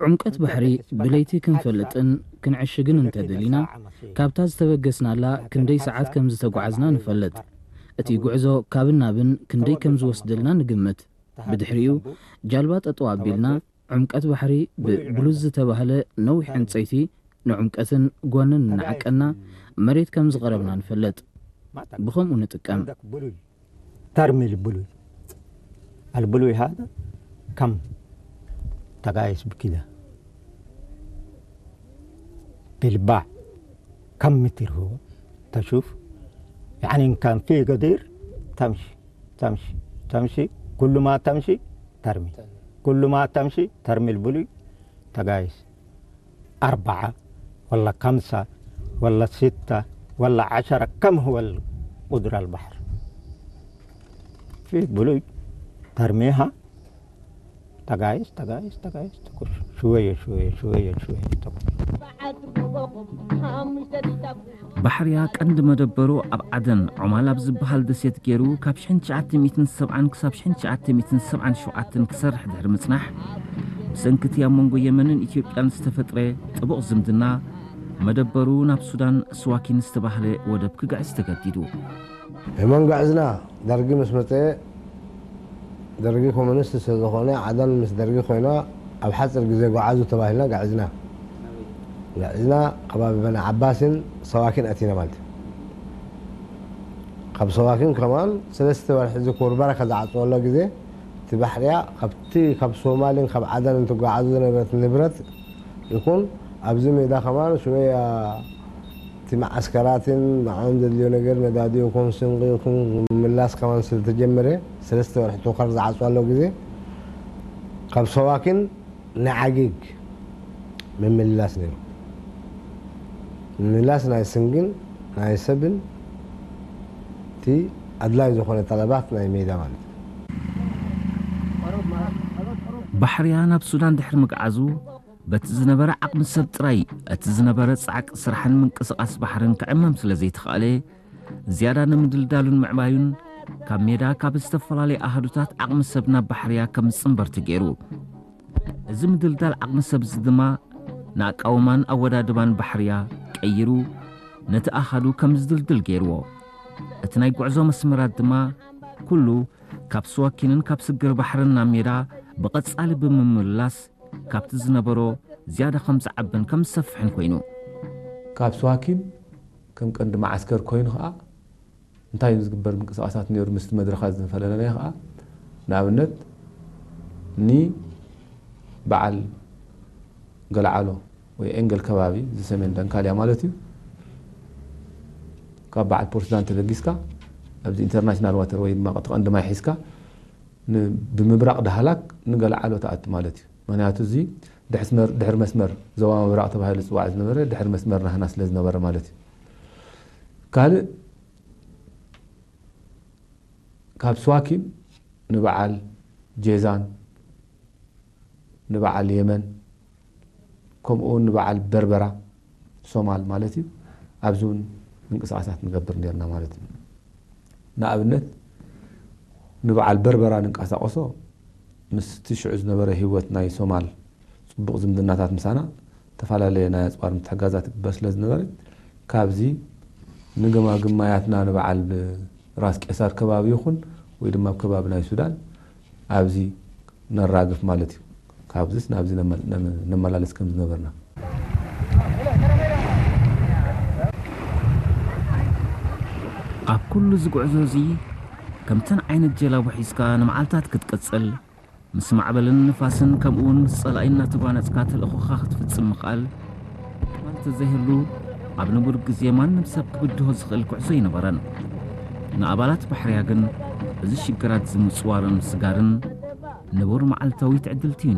ዕምቀት ባሕሪ ብለይቲ ክንፈልጥን ክንዕሽግን እንተደሊና፣ ካብታ ዝተበገስናላ ክንደይ ሰዓት ከም ዝተጓዓዝና ንፈልጥ። እቲ ጉዕዞ ካብን ናብን ክንደይ ከም ዝወስደልና ንግምት። ብድሕሪኡ ጃልባ ጠጠው ኣቢልና፣ ዕምቀት ባሕሪ ብብሉዝ ዝተባህለ ነዊሕ ዕንጸይቲ ንዕምቀትን ጓንን እናዓቀና መሬት ከም ዝቐረብና ንፈልጥ። ብኸምኡ ንጥቀም። ترمي البلوي. البلوي هذا كم تقايس بكده بالباع، كم متر هو؟ تشوف؟ يعني إن كان في قدير تمشي، تمشي، تمشي، كل ما تمشي ترمي، كل ما تمشي ترمي البلوي تقايس. أربعة ولا خمسة ولا ستة ولا عشرة، كم هو القدر البحر؟ في بلوي ترميها، تقايس، تقايس، تقايس، تقول شوية، شوية، شوية، شوية، تقول. ባሕርያ ቀንዲ መደበሩ ኣብ ዓደን ዖማል ኣብ ዝበሃል ደሴት ገይሩ ካብ ሽሕን ትሽዓተ ሚእትን ሰብዓን ክሳብ ሽሕን ትሽዓተ ሚእትን ሰብዓን ሸውዓተን ክሰርሕ ድሕሪ ምጽናሕ፣ ብሰንኪ እቲ ኣብ መንጎ የመንን ኢትዮጵያን ዝተፈጥረ ጥቡቕ ዝምድና፣ መደበሩ ናብ ሱዳን ስዋኪን ዝተባህለ ወደብ ክግዕዝ ተገዲዱ። የመን ግዕዝና ደርጊ ምስ መጸ፣ ደርጊ ኮሙኒስት ስለ ዝኾነ፣ ዓደን ምስ ደርጊ ኮይና ኣብ ሓጺር ግዜ ጓዓዙ ተባሂልና ግዕዝና። ግዕዝና ከባቢ በኒ ዓባስን ሰዋኪን ኣቲና ማለት እዩ። ካብ ሰዋኪን ከማን ሰለስተ ወርሒ እዚ ኮርባራ ከዝዓጽወሎ ግዜ፣ እቲ ባሕርያ ካብቲ ካብ ሶማልን ካብ ዓደን እንትጓዓዙ ዝነበረት ንብረት ይኹን፣ ኣብዚ ሜዳ ከማን ሽወያ እቲ መዓስከራትን ንዓኦም ዘድልዮ ነገር ነዳዲ ይኹን ስንቂ ይኹን ምምላስ ከማን ስለተጀመረ፣ ሰለስተ ወርሒ ቶኸር ዝዓጽዋሎ ግዜ ካብ ሰዋኪን ንዓጊግ ምምልላስ ነይሩ። ምምላስ ናይ ስንግን ናይ ሰብን እቲ ኣድላይ ዝኾነ ጠለባት ናይ ሜዳ ማለት እዩ። ባሕርያ ናብ ሱዳን ድሕሪ ምግዓዙ፣ በቲ ዝነበረ ዓቕሚ ሰብ ጥራይ እቲ ዝነበረ ጻዕቂ ስራሕን ምንቅስቓስ ባሕርን ክዕመም ስለ ዘይተኻእለ፣ ዝያዳ ንምድልዳሉን ምዕባዩን ካብ ሜዳ ካብ ዝተፈላለየ ኣሃዱታት ዓቕሚ ሰብ ናብ ባሕርያ ከም ዝጽንበር ተገይሩ። እዚ ምድልዳል ዓቕሚ ሰብ እዚ ድማ ንኣቃውማን ኣወዳድባን ባሕርያ ቀይሩ ነቲ ኣሃዱ ከም ዝድልድል ገይርዎ። እቲ ናይ ጉዕዞ መስመራት ድማ ኩሉ ካብ ስዋኪንን ካብ ስግር ባሕርን ናብ ሜዳ ብቐጻሊ ብምምልላስ ካብቲ ዝነበሮ ዝያዳ ከም ዝዓብን ከም ዝሰፍሕን ኮይኑ። ካብ ስዋኪን ከም ቀንዲ መዓስከር ኮይኑ ኸዓ እንታይ እዩ ዝግበር ምንቅስቓሳት ነይሩ ምስቲ መድረኻት ዝፈላለየ ኸዓ ንኣብነት ንበዓል ገለዓሎ ወይ ኤንገል ከባቢ እዚ ሰሜን ደንካልያ ማለት እዩ ካብ በዓል ፖርትላንድ ተበጊስካ ኣብዚ ኢንተርናሽናል ዋተር ወይ ድማ እቲ ቀንዲ ማይ ሒዝካ ን- ብምብራቕ ዳህላክ ንገለዓሎ ትኣቱ ማለት እዩ ምክንያቱ እዚ ድሕስመር- ድሕሪ መስመር ዞባ ምብራቕ ተባሂሉ ዝፅዋዕ ዝነበረ ድሕሪ መስመር ናህና ስለ ዝነበረ ማለት እዩ ካልእ ካብ ስዋኪን ንበዓል ጄዛን ንበዓል የመን ከምኡ እውን ንበዓል በርበራ ሶማል ማለት እዩ ኣብዚ እውን ምንቅስቃሳት ንገብር ነርና ማለት እዩ ንኣብነት ንበዓል በርበራ ንንቀሳቀሶ ምስቲ ሽዑ ዝነበረ ህይወት ናይ ሶማል ፅቡቕ ዝምድናታት ምሳና ዝተፈላለየ ናይ ኣፅዋር ምትሕጋዛት ይግበር ስለ ዝነበረ ካብዚ ንገማግም ማያትና ንበዓል ራስ ቄሳር ከባቢ ይኹን ወይ ድማ ኣብ ከባቢ ናይ ሱዳን ኣብዚ ነራግፍ ማለት እዩ ካብዚስ ናብዚ ነመላለስ ከም ዝነበርና ኣብ ኩሉ ዝጉዕዞ እዚ ከምተን ዓይነት ጀላቡ ሒዝካ ንመዓልታት ክትቅጽል ምስ ማዕበልን ንፋስን ከምኡውን ምስ ጸላኢ እናተጓነጽካ ተልእኾኻ ክትፍጽም ምኽኣል እኳ እንተዘይህሉ ኣብ ንቡር ግዜ ማንም ሰብ ክብድሆ ዝኽእል ጉዕዞ ኣይነበረን ንኣባላት ባሕርያ ግን እዚ ሽግራት እዚ ምጽዋርን ምስጋርን ንቡር መዓልታዊ ትዕድልቲ እዩ